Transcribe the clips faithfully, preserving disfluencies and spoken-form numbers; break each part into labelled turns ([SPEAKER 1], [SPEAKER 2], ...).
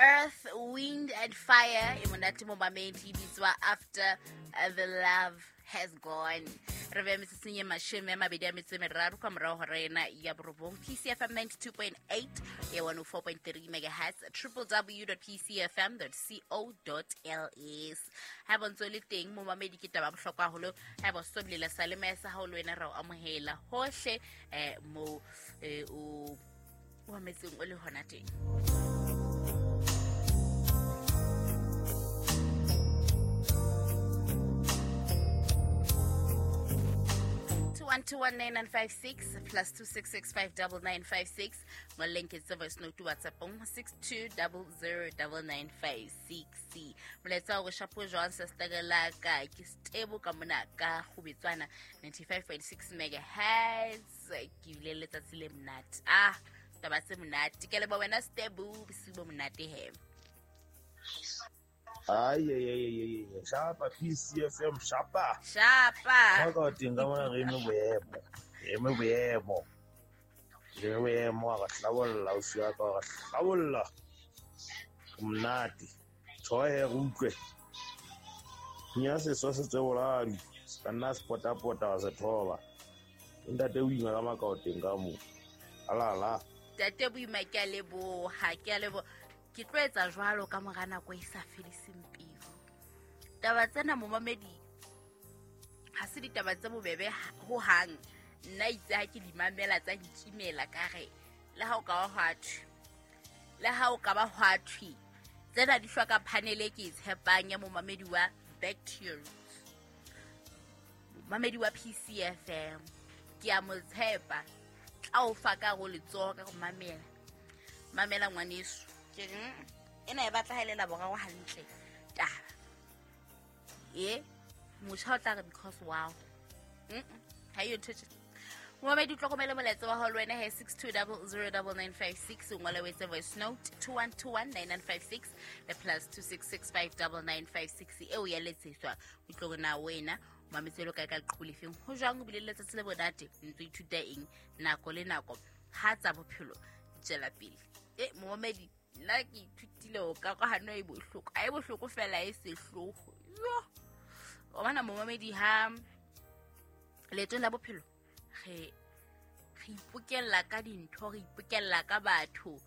[SPEAKER 1] Earth, Wind and Fire e monate momamedi e bitswa After the Love Has Gone. Re be metsetseng e mashome a mabedi a metso e meraro ka morao hora ena ya borobong. P C F M ninety-two point eight ya one oh four point three megahertz, w w w dot p c f m dot co dot l s. Ha bontso le teng momamedi ke taba bohlokwa haholo. Ha bo soblela sa le mesa ha o le wena ra o amohela hohle eh mo eh o o ametseng o le hona teng. one two one nine nine five six plus two six six five double nine five six. Mo link is voice note to WhatsApp on six two double zero double nine five six. Molaetsa o shapo jwang sister la ka ke stable ka mona ka Kgubetswana ninety-five point six megahertz. Ke bile letsatsi le monate. Ah, taba tse monate. Ke leboha wena stable bosiu bo monate he.
[SPEAKER 2] Ay, ay, ay, ay, ay, shapa P C F M, shapa.
[SPEAKER 1] Shapa.
[SPEAKER 2] Ka teng ka mona re eme boemo. Re eme boemo. Re eme boemo ra hlabolla o siya ka ra hlabolla. Monate. Tjhoe re utlwe. Nya se so se tseboladi. Ka nna se pota pota wa se thoba. Ntate o ima ka makao teng ka mo. Ala ala.
[SPEAKER 1] Ntate boima ke a leboha, ke a leboha. Ke tlo etsa jwalo ka mora nako e sa fediseng pelo. Taba tsena momamedi ha se ditaba tse bobebe ho hang. Nna itse ha ke di mamela tsa nkimela ka re le ha o ka ba hwa thwe. Le ha o ka ba hwa thwe. Tsena di hloka panel e ke e tshepang ya momamedi wa Back to Your Roots. Momamedi wa P C F M. Ke a mo tshepa. Tla o fa ka go letsoho ka go mamela. Mamela ngwaneso. Ke ena e batla ha ile la boraro hantle taba e motjha o tla re because wow mm ha yo ntho momamedi tlokomele molaetsa wa hao le wena he six two zero zero nine nine five six o ngole o etse voice note two one two one nine nine five six le plus two six six five nine nine five six eo ya letsetswa o tlo na wena mametse lo kae ka leqhubu lefeng ho jwang o bile le letsatsi le bonate ntse ithuta eng nako le nako ha tsa bophelo tswela pele e momamedi nna ke ithutile o ka karohano e bohloko a e bohloko fela e sehloho yo o bona momamedi ha leetong la bophelo re re ipokella ka dintho re ipokella ka batho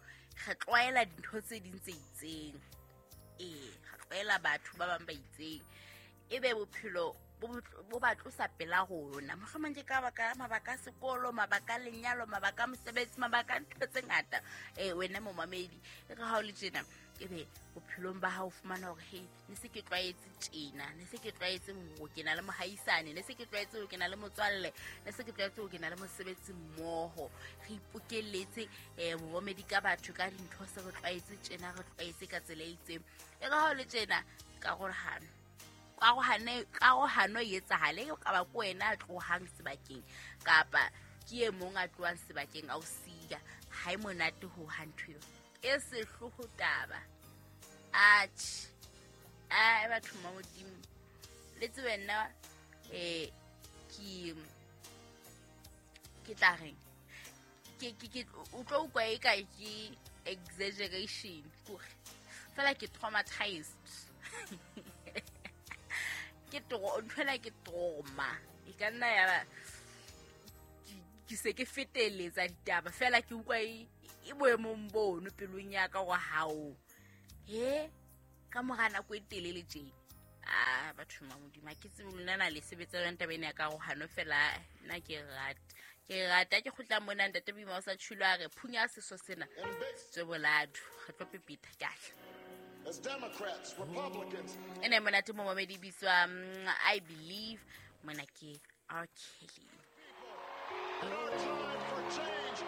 [SPEAKER 1] re tlwaela dintho tse ding tse itseng ee re tlwaela batho ba bang ba itseng ebe bophelo bo ba tlosa pela rona mohlomong ke ka baka mabaka a sekolo mabaka a lenyalo mabaka a mosebetsi mabaka a ntho tse ngata eh wena momamedi e re ha o le tjena ebe bophelong ba hao fumana hore hey ne se ke tlwaetse tjena ne se ke tlwaetse ho kena le mohaisane ne se ke tlwaetse ho kena le motswalle ne se ke tlwaetse ho kena le mosebetsi mmoho re ipokelletse eh momamedi ka batho ka dintho se re tlwaetse tjena re tlwaetse ka tsela e itseng e re ha o le tjena karohano karohano karohano e etsahale ka ba ko wena a tlohang sebakeng kapa ke e mong a tlohang sebakeng a o siya ha e monate ho ha ntho eo e sehloho taba atjhe a batho ba Modimo le tsebe nna eh ke ke tla reng ke ke ke o tlo utlwa e ka ke exaggeration kore fela ke traumatized ke tro ntho ke trauma e ka nna ya ba ke se ke feteletsa ditaba fela ke utlwa e boemong bono pelong ya ka go hao he ka mora nako e telele tje ah batho ba Modimo ke tsebe lona na le sebetsa yona taba ena ya karohano fela nna ke rata ke rata ke kgutla mona ntate Boima o sa tshilo a re phunya seso sena tsweboladu re tlo pepita ke a
[SPEAKER 3] As Democrats, Republicans.
[SPEAKER 1] Ene monate momamedi bitswa I Believe mona ke R. Kelly.
[SPEAKER 3] And our time for change